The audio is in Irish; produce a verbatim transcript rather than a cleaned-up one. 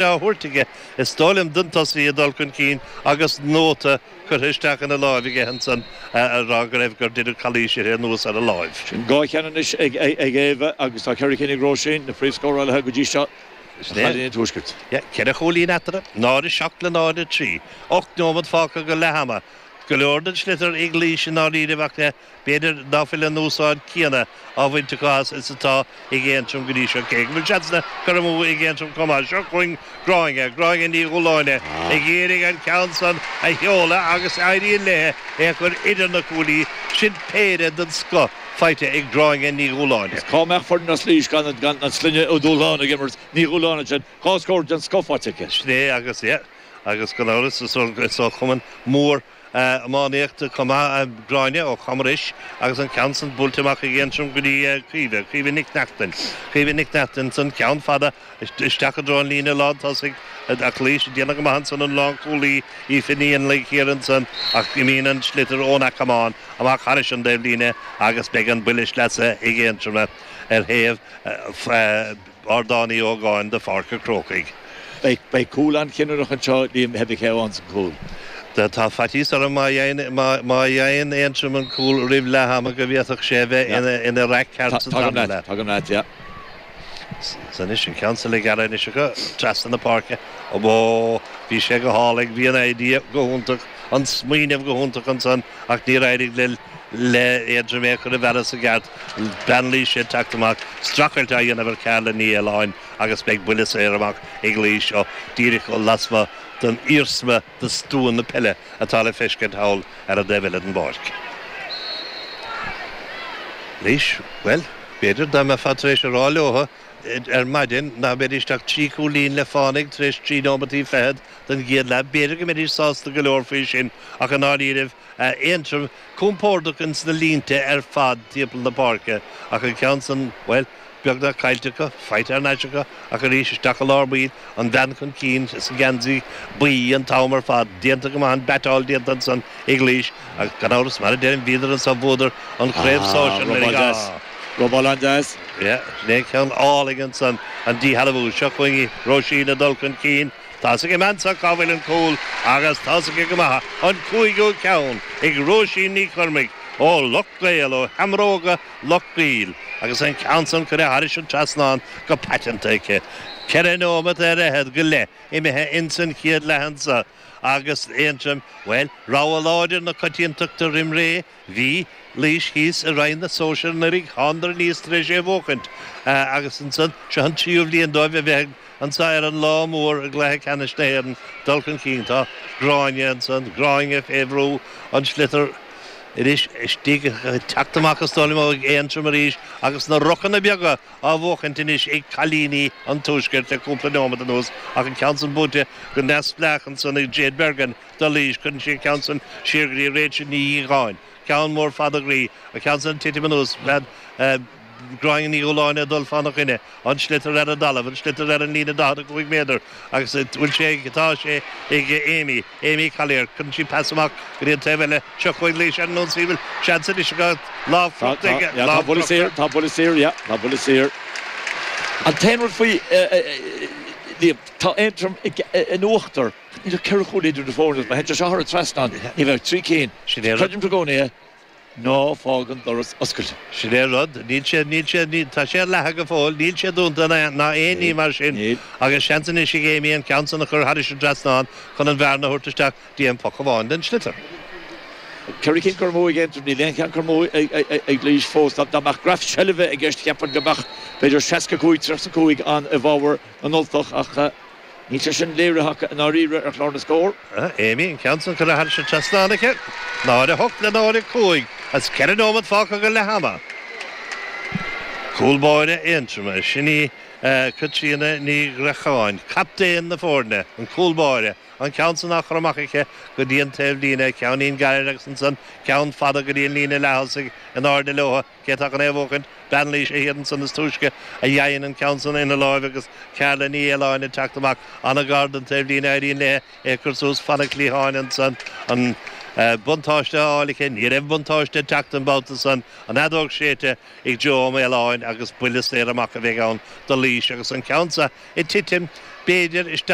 á thabhairt aige is dóigh liom don tosaí ag dul chun cinn agus nóta curtha isteach ina láimh aige ansan a rá go raibh gur deineadh calaois uirthi anuas ar a láimh. Sin dhá cheann anois ag Éabha agus tá ceithre cinn ag Róisín, na príomhscórálaithe go dtí seo do chailíní an Tuaiscirt. Ceithre chúilín eatarthu, náid a seacht le náid a trí. Ocht nóiméad fágtha go leath ama. Go leor den sliotar ag Laois i ndáiríribh ach b'fhéidir ná fuil an úsáid céanna á bhaint acu as is atá ag Aontroim go dtí seo, cé go bhfuil seansanna curtha amú ag Aontroim chomh maith. Seo chugainn Gráinne, Gráinne Ní Dhúláine ag iarraidh an ceann san a sheoladh agus éiríonn léi é a chur idir na cuaillí. Sin péire den scoth faighte ag Gráinne Ní Dhúláine. Is cá mbeadh foireann as Laois gan an sloinne Ó Dúláin ag imirt? Ní Dhúláin ansin. Dhá scór den scoth faighte aici. Sin é agus, yeah, agus gan amhras is ó chumann mór iománaíochta chomh maith Gráinne ó Chamrois agus an ceann san buailte amach ag Aontroim go dtí Caoimhe, Caoimhe Nic Neachtain. Caoimhe Nic Neachtain ansan, ceann fada isteach i dtreo an líne lán tosaigh ach Laois ag déanamh go maith ansan an lánchúlaí Aoife Ní Fhionnlaigh thiar ansan ach imíonn an sliotar ón camán amach thairis an dtaobhlíne agus beidh an buille sleasa ag Aontroim ar thaobh Ardán Uí Ógáin de Pháirc an Chrócaigh. Beidh cúl an-chinniúnach anseo, Liam, pé cé a fhaigheanns an cúl. Tá faitíos orm má fhaigheann Aontroim an cúl roimh leath ama go bhféadfadh sé a bheith ina raic ceart sa dara leath. Tagaim leat, yeah. Is anois an ceann san le gearradh anois acu trasna na páirce. Ó, bhí sé go hálainn, bhí an idea go hiontach, an smaoineamh go hiontach ansan ach níor éirigh le le Aontroim é a chur i bhfearas i gceart. Bean Laoise ag teacht amach, streachailt á dhéanamh ar Carla Ní Fhaoláin agus beidh buille saor amach ag Laois ó díreach lasmuigh den iarsma de stua na peile atá le feiscint thall ar an dtaobh eile den bpáirc. Laois, bhuel, b'fhéidir dá mbeifeá tar éis a rá leo ar maidin nach mbeidís ach trí chúilín le fánaidh tar éis trí nóimeataí fichead den gcéad leath, b'fhéidir go mbeidís sásta go leor faoi sin ach i ndáiríribh Aontroim compordach ins na línte ar fad timpeall na páirce ach an ceann san, bhuel, beagnach caillte acu, faighte thar n-ais acu ach arís isteach i lár baill, an bhean chun cinn sa gheansaí buí an t-am ar fad, déanta go maith, an beatáil déanta ansan ag Laois ach gan amhras, mar a deirim, bhíodar anso, bhuadar an chraobh sóisir anuraidh. Ah, robáil an-deas. Yeah, sin é ceann álainn ansan, an díshealbhú. Seo chugainn í, Róisín ag dul chun cinn. Tá's ag an mbean seo cá bhfuil an cúl agus tá's aici go maith, an cúigiú ceann ag Róisín Ní Chormaic ó Loch gCaol, ó Sheamróga Loch gCaol, agus an ceann san curtha thairis an trasnán go paiteanta aici. Ceithre nóimeat ar fhichead go leith imithe ins an chéad leath anso agus Aontroim, bhuel, rogha láidir na coitiantachta roim ré, bhí Laois thíos i Roinn na Sóisear anuraidh, thánadar aníos tar éis é a bhuachaint agus ansan, seo an tríú bhliain dóibh a bheith ag. Anso ar an lá mór i gcluiche ceannais na hÉireann, dul chun cinn, tá Gráinne ansan, Gráinne fé bhrú, an sliotar anois istigh, ag teacht amach is dóigh liom ó Aontroim arís agus na rucanna beaga á bhuachaint anois ag cailíní an Tuaiscirt le cúpla neomat anuas ach an ceann san buaite go neamhspleách ansan ag Jade Bergin do Laois. Cuireann sí an ceann san siar go dtí Rachel Ní Dhíogáin. Ceann mór fada groí, an ceann san ag titim anuas. Gráinne Ní Dhúláine ag dul fána choinne, an sliotar ar an dtalamh, an sliotar ar an líne daichead a cúig méadar agus an bhfuil sé ag, tá sé ag Amy, Amy Collier, cuireann sí pas amach go dtí an taobh eile, seo chugainn Laois ar an ionsaí, bhfuil seans anois acu, lámh crochta aige, lámh crochta. Tá buille saor, tá buille saor, yeah, tá buille saor. An t-aon rud faoi, Liam, tá Aontroim in uachtar, níl ach ceithre chúl idir na foirne, má théann sé seo thar an trasnán, ní bheidh ach trí cinn. Creidim i gcónaí é. Ná fág an doras oscailte. Sin é an rud. Níl sé, níl sé, níl, tá sé ar leathadh go fóill, níl sé dúnta ná aon ní mar sin. Níl. Agus seans anois ag Amy an ceann san a chur thairis an dtrasnán chun an bhearna a thabhairt isteach dtí aon phoc amháin den sliotar. Ceithre cinn curtha amú ag Aontroim, níl aon cheann curtha amú ag Laois fós. Dá mbeadh graf seilbhe i gceist cheapfainn go mbeadh b'fhéidir seasca cúig, tríocha cúig ann i bhfabhar na nUltach ach, Níl sé sin léirithe acu i ndáiríre ar chlár na scór. Amy, an ceann san curtha thairis an trasnán aici. Náid a hocht le náid a cúig agus ceithre nóiméad fágtha go leath ama. Cúl báire Aontroma, sin í Caitríona Ní Ghreacháin, captaen na foirne, an cúl báire, an ceann san á chur amach aici go dtí an taobhlíne, ceainnín gairid agus ansan ceann fada go dtí an líne leath-thosaigh in airde leo. Cé atá chun é a bhuachaint? Bean Laoise thiar ansan is túisce a fhaigheann an ceann san ina láimh agus Carla Ní Fhaoláin ag teacht amach an-ghar don taobhlíne. Éiríonn léi é a chur suas fana cliatháin ansan. An buntáiste á fháil aici. Ní raibh buntáiste ag teacht an babhta san. An fheadóg séidte ag Joe Ó Maoláin agus buille saor amach a bheidh ann do Laois agus an ceann seo ag titim B'fhéidir isteach